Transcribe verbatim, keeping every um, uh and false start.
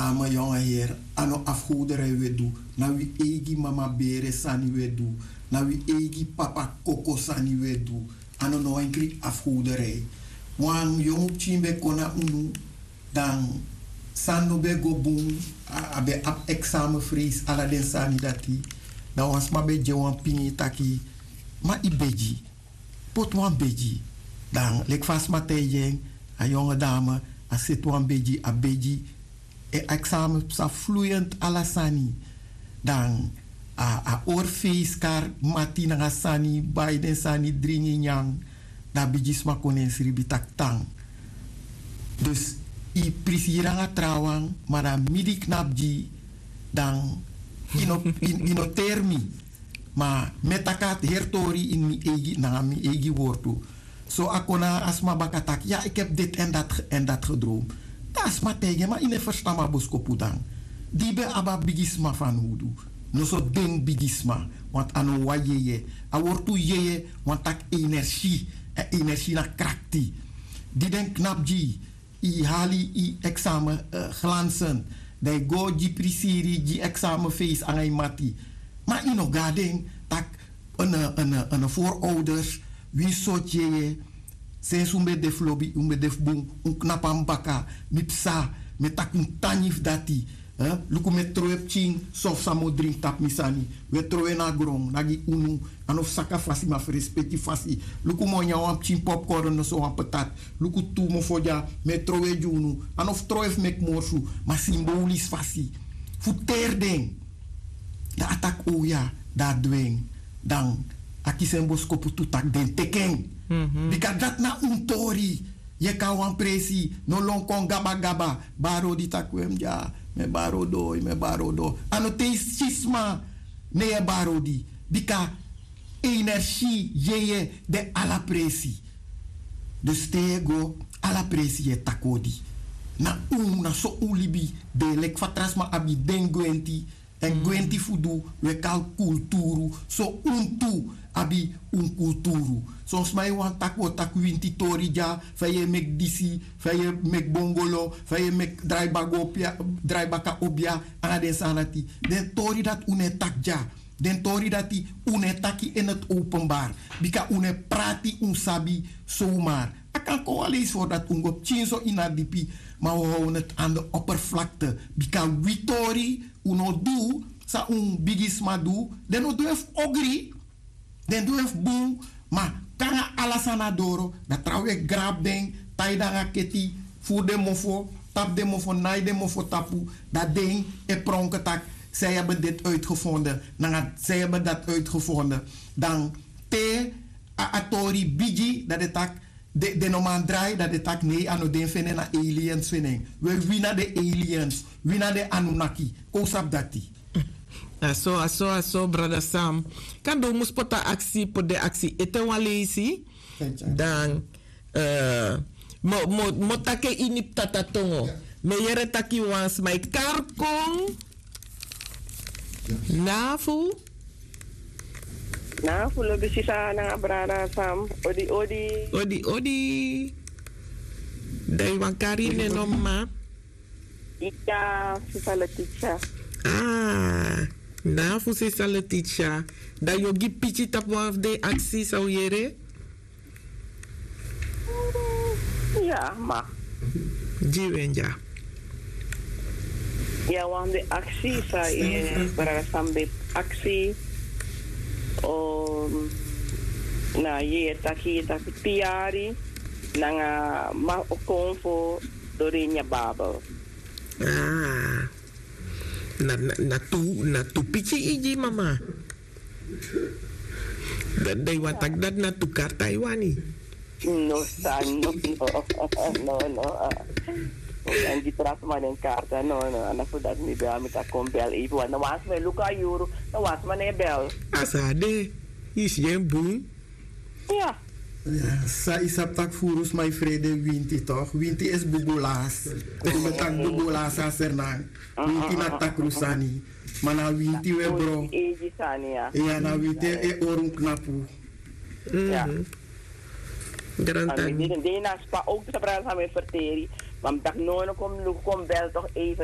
Dame yonge heri, a no afgoderij wi e du. Na wi eigi mama bere sani wi e du. Na wi eigi papa koko sani wi e du. A no no enkri afgoderij. Wan yongu pikin ben kon na unu, dan sani no ben go bun. A ben abi examen freis, ala den sani dati. Dan wan sma ben gi en wan pini taki: ma yu begi, poti wan begi. Dan leki fa a sma taigi en, a yonge dame, a seti wan begi, a begi. En examen psa fluent, ala sani. Dan a ori feiskar, mati nanga sani, bai den sani, dringi, nyan. Dan a bigisma kon na en sribi taki tan. Dus yu prisiri nanga trawan, ma dan mi di knapu gi yu, dan yu no teri mi. Ma mi e taki a heri tori ini mi eigi, nanga mi eigi wortu. So a kon na a sma baka taki: ya, ik heb dit en dat gedroomd. Dan a sma taigi en: ma yu no e ferstan mi a boskopu dan? Di yu ben abi a bigisma fanowdu. Noso den bigisma, want a no wan yeye. A wortu yeye wani taki energie. Èn energie na krakti. Di den knapu gi yu, yu hali yu examen glansen, dan yu go gi prisiri, gi examen feis nanga yu mati. Ma yu no go na den taki: en voorouders, wi sortu yeye, sensi un ben de fu lobi, un ben de fu bun, un knapu na mi baka, mi psa, mi e taki un tan nyan fu dati. Luku, mi e trowe pikin sofu san mi o dringi tapu mi sani. Wi e trowe na gron, na gi unu. A no fu saka fasi, ma fu respeki fasi. Luku, mi o nyan wan pikin popcorn noso wan patat. Luku, tu mofo dya, mi e trowe gi unu. A no fu trowe fu meki morsu, ma simbolis fasi fu teri den. Dan a taki: o ya, dan a du en. Dan a kisi en boskopu tu taki den teki en. Bika dati na un tori. Yu e kon na wan presi, no lon kon gabagaba. Bari odi taki: we mi dya, mi e bari odi, mi e bari odi. A no te yu si sma, ne yu e bari odi. Bika energie, yeye, de ala presi. Dus te yu e go, ala presi yu e taki odi. Na un, na so un libi de. Leki fa tra sma abi den gwenti. Èn gwenti fu du, wi e kari kulturu. So un tu abi un kulturu. Son sma e wani taki wi o taki winti tori dya, fa yu e meki disi, fa yu e meki bongolo, fa yu e meki drai baka obia, drai baka obia, nanga den sani dati. Den tori dati un no e taki dya. Den tori dati un no e taki in het openbaar. Bika un no e prati un sabi zomaar. A kan kon wan leisi fu dati un go pikinso ini a dipi, ma wi how neti an de oppervlakte. Bika wi tori, un no du san un bigisma du. Den no du en fu ogri, den du en fu bun. Ma kon nanga ala sani na doro, dan trawan wi e grabu den, tai den nanga keti, furu den mofo, tapu den mofo, nai den mofo tapu. Dan den e pronke taki: zij hebben dit uitgevonden, nanga zij hebben dat uitgevonden. Dan te a tori bigi, dan den taki: den no man drai, dan den taki: nei, a no den feni en, na aliens feni en. We, wi na den aliens, wi na den Anunnaki. Kon un sabi dati. A so, a so, a so, brada Sam. Kande un mus poti a aksi, poti den aksi ete wan leisi. Dan mi o taki en ini Tata tongo. Mi e yere taki wan sma e kari kon. Nafu. Nafu lobi sisa nanga brada Sam. Odi odi. Odi odi. Dan yu wani kari nen no, mama? Iya, sisa Letitia. Ah, nafu sisa Letitia. Dan yu o gi piki tapu wan fu den aksi san un yere? Ya, ma. Gi wi en dya. Ya, wan fu den aksi san, eh, brada Sam ben aksi. Na yeye taki, taki tin yari nanga ma o kon fu dori ini a Bijbel. Ah. Na, na, na tu, na tu piki yu gi, mama. Dan, dan yu wani taki dati na tu karta yu wani? No, sa, no, no. No, no. Yu kan gi tra sma den karta, no, no. A na fu dati mi bel, mi taki kon bel even, want na wan sma e luku a yuru, na wan sma no e bel. A sa de, yu si en bun. Ya. Ya, san yu sabi taki furu sma e frede winti toch? Winti is bubulas. Yu ben taki bubulas a Sranan. Winti na takru sani. Ma na winti we bro. Winti eigi sani, ya. Ya, na winti e ori un knapu. Ya. Grantan. Mi dini na spa ook te sabra sa mi ferteri. Ma mi taki no, no, kon luku, kon bel toch even.